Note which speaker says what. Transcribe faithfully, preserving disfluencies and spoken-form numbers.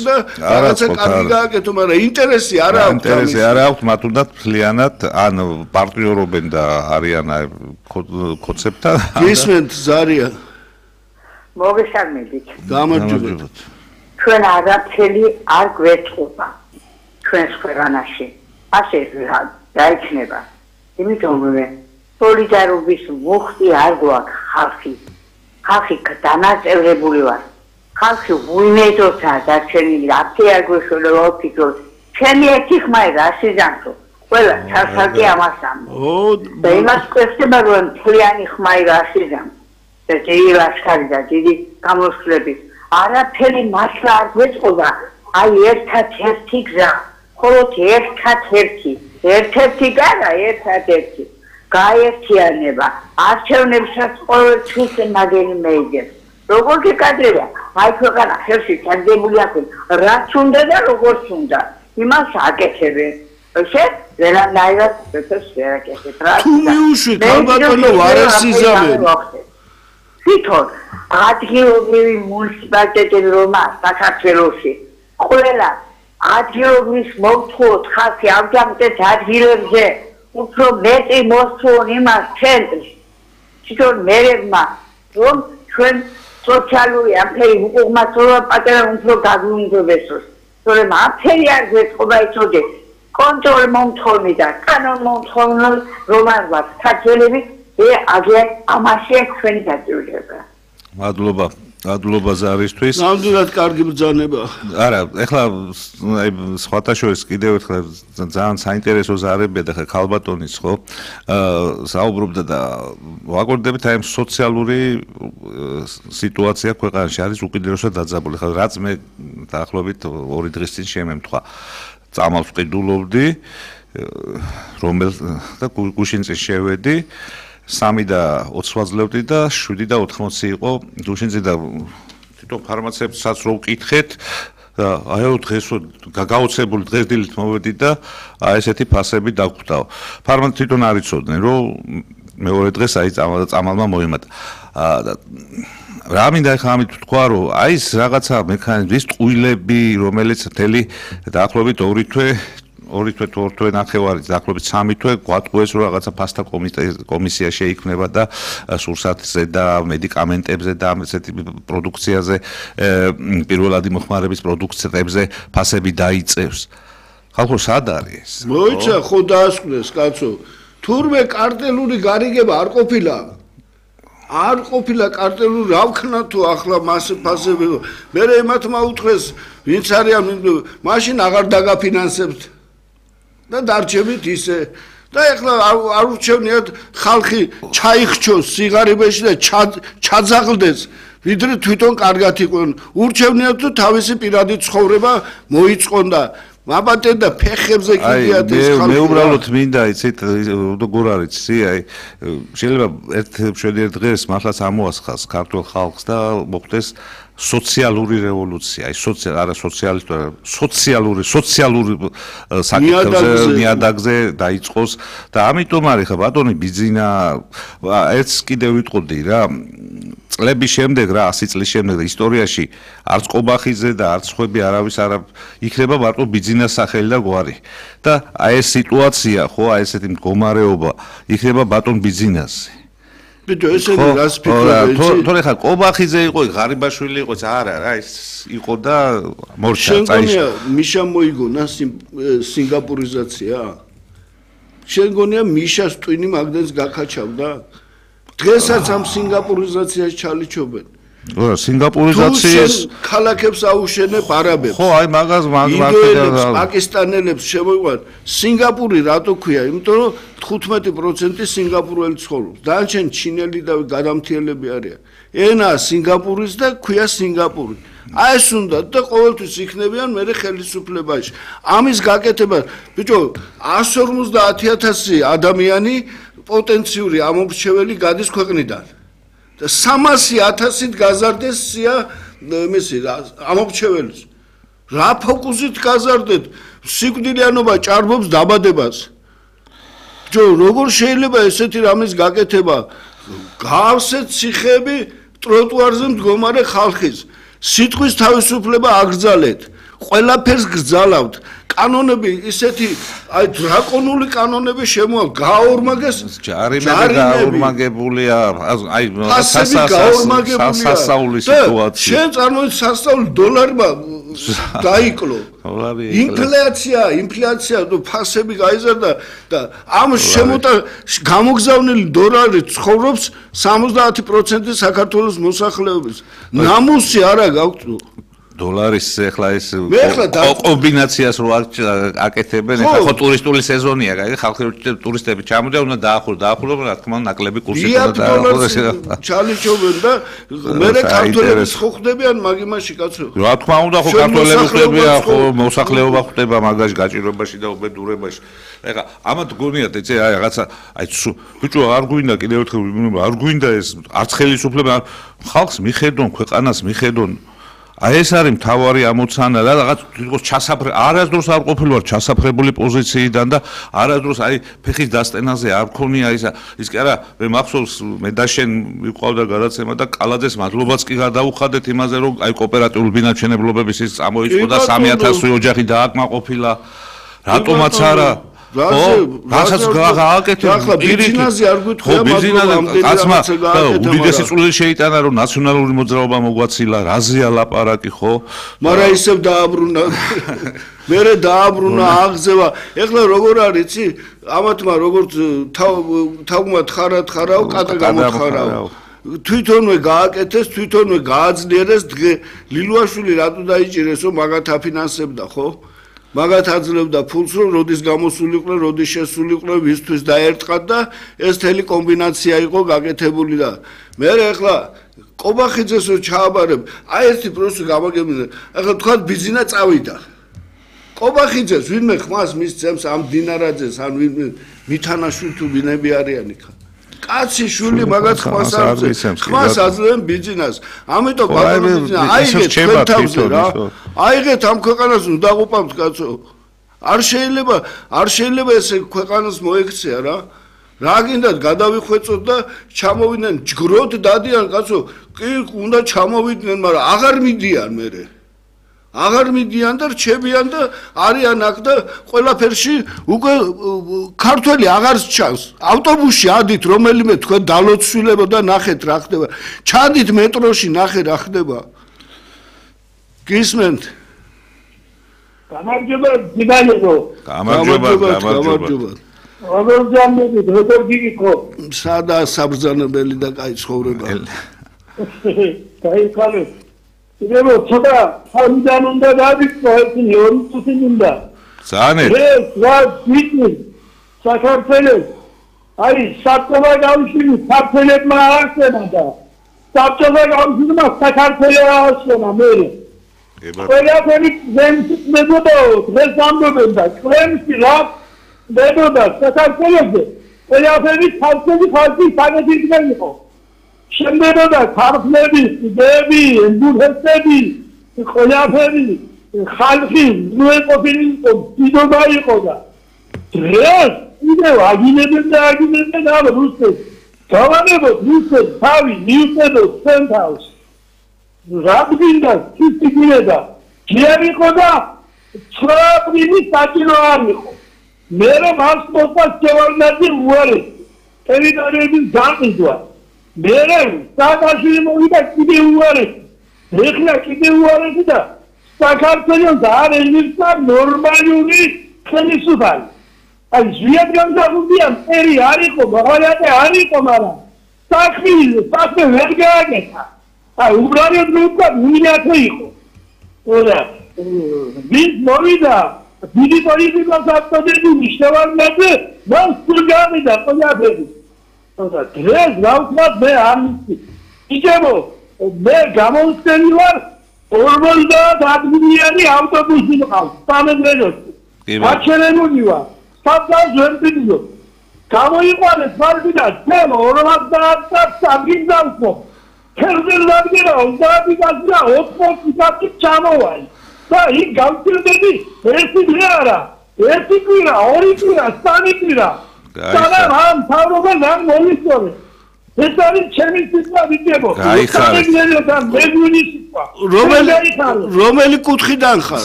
Speaker 1: და რაღაცა კარგი გააკეთო, მაგრამ ინტერესი არა აქვს.
Speaker 2: ინტერესი არა აქვს, მათ უნდა მთლიანად ან პარტნიორობენ და არიან კონცეპტთან.
Speaker 1: გისმენთ ზარია.
Speaker 3: მოგესალმებით.
Speaker 1: გამარჯობათ.
Speaker 3: ჩვენ არაფერი არ გვეთყობა ჩვენს ქვეყანაში. ასე დაიჩნება. იმიტომ რომ სოლიდარობის მუხტი არ გვაქვს ხალხი. ხალხი დანაწევრებული ვარ. ხალხი უიმედოა დარჩენილი, აფთი არ გვეშველება ოფიცრს. ჩემი ერთი ხმაი რა სიზანტო. ყველა ჩასაკი ამას ამბობს.
Speaker 1: ო,
Speaker 3: და იმას კვესდება რომ მთლიანი ხმაი რა სიზანტო. და დიდი ლაშქარი და დიდი გამოსვლები. არაფერი მართლა არ გვეწყობა. აი ერთად-ერთი გზა. მხოლოდ ერთად-ერთი. ერთ-ერთი გადა, ერთად-ერთი. გაერთიანება. არჩევნებსაც ყოველთვის მაგერი მეიგებს. როგორ გეკადრება? აი ქვეყანა ხელში ჩაგდებული აქვს. რაც უნდა და როგორც უნდა. იმას აკეთებენ. ესე ვერანაირად ეს ვერ აკეთებ.
Speaker 1: თუ მიუშვით ალბათონო ვარასიზამენ.
Speaker 3: თვითონ ადგილობრივი მუნიციპალიტეტები რომა საქართველოში ყველა ადგილობრივის მოვთხოვოთ ხალხი ამჯამად ადგილებზე უფრო მეტი მოსწონ იმას ცენტრში თვითონ მერებმა რომ ჩვენ სოციალური აფერი უკუღმართობა პატარა უფრო გაგვიუმჯობესოს თორემ აფერი არ გვეწყობა იცოდე კონტროლ მომთხოვნი და კანონ მომთხოვნი რომ არ ვარ საქართველები ე აგე ამაში ჩვენი დაძიება.
Speaker 2: მადლობა, მადლობა ზარისთვის.
Speaker 1: ნამდვილად კარგი ბრძანება.
Speaker 2: არა, ეხლა აი სხვათა შორის კიდევ ერთხელ ძალიან საინტერესო ზარებია და ხა ქალბატონის ხო? აა საუბრობდა და ვაკორდებით აი სოციალური სიტუაცია ქვეყანაში არის უკიდურესად დაძაბული. ხა რაც მე დაახლოებით ორი დღის წინ შემემთხვა. წამალს ვყიდულობდი რომელ და გუშინ წინ შევედი სამი და ოცი ვაძლევდი და შვიდი და ოთხმოცი იყო გუშინზე და თვითონ ფარმაცევტსაც რო ვკითხეთ და აიო დღეს გაუცებული დღეს დილით მოვედი და აი ესეთი ფასები დაგხვდაო. ფარმაცევტი თვითონ არ იცოდნენ რომ მეორე დღეს აი წამალმა მოიმატა. რა მინდა ახლა ამით თქვა რომ აი ეს რაღაცა მექანიზმი ის ტყუილები რომელიც მთელი დაახლოებით ორი თვე ორი თვე თუ ორ თვე ნახევარი დაახლოებით სამი თვე გვატყუეს რომ რაღაცა ფასთა კომისია შეიქმნება და სურსათზე და მედიკამენტებზე და ასეთი პროდუქციაზე პირველადი მოხმარების პროდუქტებზე ფასები დაიწევს. ხალხო სად არის?
Speaker 1: მოიცა ხო დაასკვნეს კაცო. თურმე კარტელური გარიგება არ ყოფილა. არ ყოფილა კარტელური რა ვქნა თუ ახლა მას ფასები მე ემათმა უთხრეს ვინც არიან მაშინ აღარ დაგაფინანსებთ და დარჩებით ისე და ეხლა არ ურჩევნიათ ხალხი ჩაიხჩოს სიღარიბეში და ჩაძაღლდეს ვიდრე თვითონ კარგად იყვნენ ურჩევნიათ თუ თავისი პირადი ცხოვრება მოიწყონ და მაბატენ და ფეხებზე კიდიათ ეს ხალხი
Speaker 2: მე უბრალოდ მინდა იცით როგორ არის ისი აი შეიძლება ერთ შვიდი დღეს მართლაც ამოასხას ქართულ ხალხს და მოხდეს სოციალური რევოლუცია, აი სოციალ არა სოციალისტური, სოციალური, სოციალური საკითხებზე ნიადაგზე დაიწყოს და ამიტომ არის ხა ბატონი ბიძინა ერთს კიდევ ვიტყოდი რა წლების შემდეგ რა ასი წლის შემდეგ და ისტორიაში არც ყობახიძე და არც ხვები არავის არ იქნება მარტო ბიძინას სახელი და გვარი და აი ეს სიტუაცია ხო აი ესეთი მდგომარეობა იქნება ბატონ ბიძინასზე
Speaker 1: ბიჭო ესენი რას ფიქრობ იცი?
Speaker 2: თორე ხა ყობახიძე იყო, ღარიბაშვილი იყო, არა რა ის იყო და მორჩა წაიშვა.
Speaker 1: შენ გონია მიშა მოიგონა სინგაპურიზაცია? შენ გონია მიშას ტვინი მაგდენს გაკაჩავდა? დღესაც ამ სინგაპურიზაციას ჩალიჩობენ.
Speaker 2: ო სინგაპურიზაციის
Speaker 1: ქალაქებს აუშენებ არაბებს.
Speaker 2: ხო აი მაგას მაგას
Speaker 1: პაკისტანელებს შემოიყვან. სინგაპური რატო ქვია? იმიტომ რომ თხუთმეტი პროცენტი სინგაპურელი ცხოვრობს. დანარჩენ ჩინელი და გადამთიელები არიან. ენა სინგაპურის და ქვია სინგაპური. აი ეს უნდა და ყოველთვის იქნებიან მერე ხელისუფლებაში. ამის გაკეთება, ბიჭო, εκατს ორმოცდაათი ათასი ადამიანი პოტენციური ამომრჩეველი გადის ქვეყნიდან. და სამასი ათასით გაზარდეს სია მესი ამომრჩეველს. რა ფოკუსით გაზარდეთ? სიკვდილიანობა ჭარბობს დაბადებას. ჯო როგორ შეიძლება ესეთი რამის გაკეთება? გავსეთ ციხეები ტროტუარზე მდგომარე ხალხის. სიტყვის თავისუფლება აგრძალეთ. ყველაფერს გრძალავთ. კანონები ისეთი აი დრაკონული კანონები შემოალ გაორმაგეს
Speaker 2: ჯარიმები გაორმაგებულია აი სასასაული სიტუაცია
Speaker 1: შენ წარმოიდგინე სასწაული დოლარმა დაიკლო ინფლაცია ინფლაცია თუ ფასები გაიზარდა და ამ შემოტა გამოგზავნილი დოლარი ცხოვრობს სამოცდაათი პროცენტი საქართველოს მოსახლეობის ნამუსი არა გაქვს
Speaker 2: დოლარის ახლა ეს კომბინაციას რო აკეთებენ ახლა ხო ტურისტული სეზონია კაი ხალხი ტურისტები ჩამოდიან უნდა დაახურო დაახურო რა თქმა უნდა ნაკლები კურსი უნდა
Speaker 1: დაახურო ჩალიჩობენ და მე ქართველები ხო ხდებიან მაგ იმაში კაცო
Speaker 2: რა თქმა უნდა ხო ქართველები ხდებიან ხო მოსახლეობა ხდება მაგაში გაჭირვებაში და უბედურებაში ეხლა ამათ გონიათ ეცე აი რაღაცა აი ბიჭო არ გვინდა კიდევ ერთხელ არ გვინდა ეს არც ხელისუფლება ხალხს მიხედონ ქვეყანას მიხედონ აი ეს არის მთავარი ამოცანა და რაღაც თვითონ ჩასაფრე არასდროს არ ყოფილვარ ჩასაფრებული პოზიციიდან და არასდროს აი ფეხის დასტენაზე არ ქონია ისა ის კი არა მე მახსოვს მე და შენ ვიყავდა გადაცემა და კალაძეს მადლობაც კი გადაუხადეთ იმაზე რომ აი კოოპერატიული ბინაჩენებლობების ის წამოიწყო და სამი ათასი ოჯახი დააკმაყოფილა რატომაც არა რასაც გააკეთე
Speaker 1: ახლა ბიზნესზე არ გვითხოვია
Speaker 2: მაგრამ კაცმა უდიდესი წვლილი შეიტანა რომ ნაციონალური მოძრაობა მოგვაცილა რაზეა ლაპარაკი ხო
Speaker 1: მაგრამ ისევ დააბრუნა მერე დააბრუნა აღზევა ეხლა როგორ არის იცი ამათმა როგორც თავმა თხარა თხარაო კატა გამოთხარაო თვითონვე გააკეთეს თვითონვე გააძლიერეს ლილუაშვილი რატო დაიჭირეს რომ მაგათ აფინანსებდა ხო მაგათ აძლევდა ფულს რომ როდის გამოსულიყვნენ, როდის შესულიყვნენ, ვისთვის დაერტყათ და ეს თელი კომბინაცია იყო გაკეთებული და მე ახლა კობახიძეს რო ჩააბარებ, აი ერთი პროცესი გამაგებინე. ახლა თქვა ბიზინა წავიდა. კობახიძეს ვინმე ხმას მისცემს ამ დინარაძეს, ან ვინმე მითანაშვილი თუ ბინები არიანი ხა. კაცი შვილი მაგათ ხმას აძლევს. ხმას აძლევენ ბიზნეს. ამიტომ ბაბულიძე აიგეთ თქვენთავზე რა. აიგეთ ამ ქვეყანას უნდა დაყუპავთ კაცო. არ შეიძლება, არ შეიძლება ესე ქვეყანას მოექცია რა. რა გინდათ გადავიხვეწოთ და ჩამოვიდნენ ჯგროდ დადიან კაცო. კი უნდა ჩამოვიდნენ, მაგრამ აღარ მიდიან მერე. აღარ მიდიან და რჩებიან და არიან აქ და ყველაფერში უკვე ქართველი აღარ ჩანს. ავტობუსში ადით რომელიმე თქვენ დალოცვილებო და ნახეთ რა ხდება. ჩადით მეტროში ნახე რა ხდება. გისმენთ?
Speaker 4: გამარჯობა ძიგანებო.
Speaker 2: გამარჯობა, გამარჯობა.
Speaker 4: როგორ ჯამდებით, როგორ გიგიქო?
Speaker 1: სადა საბრძანებელი და კაი ცხოვრება.
Speaker 4: კაი ხალე. იგივე ცოტა სამიდან უნდა დავიწყო ერთი ორი წუთი უნდა.
Speaker 2: ზანეთ.
Speaker 4: ეს რა ვიცი საქართველოს აი საბჭოთა კავშირი საბჭოებმა აღსენა და საბჭოთა კავშირმა საქართველოს აღსენა მე. ყველაფერი ზემში მებოდა დღეს ამბობენ და კრემში რა მებოდა საქართველოსზე ყველაფერი ხალხი ხალხი საგედიდან იყო. შემდებოდა ქართლები, იდეები, ემბურჰესები, ყველაფერი ხალხი მოეყოფილი იყო, დიდობა იყო და დღეს კიდევ აგინებენ და აგინებენ ამ რუსეთს. გავანებოთ რუსეთს თავი მიუწედოთ ჩვენ თავს. რა გინდა სისტიკირება ჯერ იყო და ცხრაპრიმი საჭირო არ იყო. მე რომ მას მოყვა შევარდნაძე უარი ტერიტორიების განყიდვა. მერე სააკაშვილი მოვიდა კიდე უარესი. ეხლა კიდე უარესი და საქართველოს არ ეძებდა ნორმალური ხელისუფალი. აი ზვიად გამზარდია მტერი არ იყო, მაღალატე არ იყო, მაგრამ საქმე საქმე ვერ გააკეთა. აი უბრალოდ ნუცა მინათე იყო. ოდა ვინ მოვიდა დიდი პოლიტიკოს აქტივები მიშევარნაძე მას სულ გამიდა ყველაფერი. და დღეს გავხმად მე ამისი იგებო მე გამოვწენი ვარ ორმოცდაათ ადგილიანი ავტობუსი მყავს სამეგრელოში აჩერებული ვარ საბჭოს ვერტიდიო გამოიყვანეს მარგიდა თემ ორმოცდაათ საგიზავსო ქერდელადგერა ოცდაათი კაცი ოცდაათი კაცი ჩამოვალი და იქ გავწირდები ერთი დღე არა ერთი კვირა ორი კვირა სამი კვირა სანამ ამ თავრობა ნამ მომიწონე ეს არის ჩემი სიტყვა ვიძებო
Speaker 2: გაიხარეთ
Speaker 1: რომელი რომელი კუთხიდან ხარ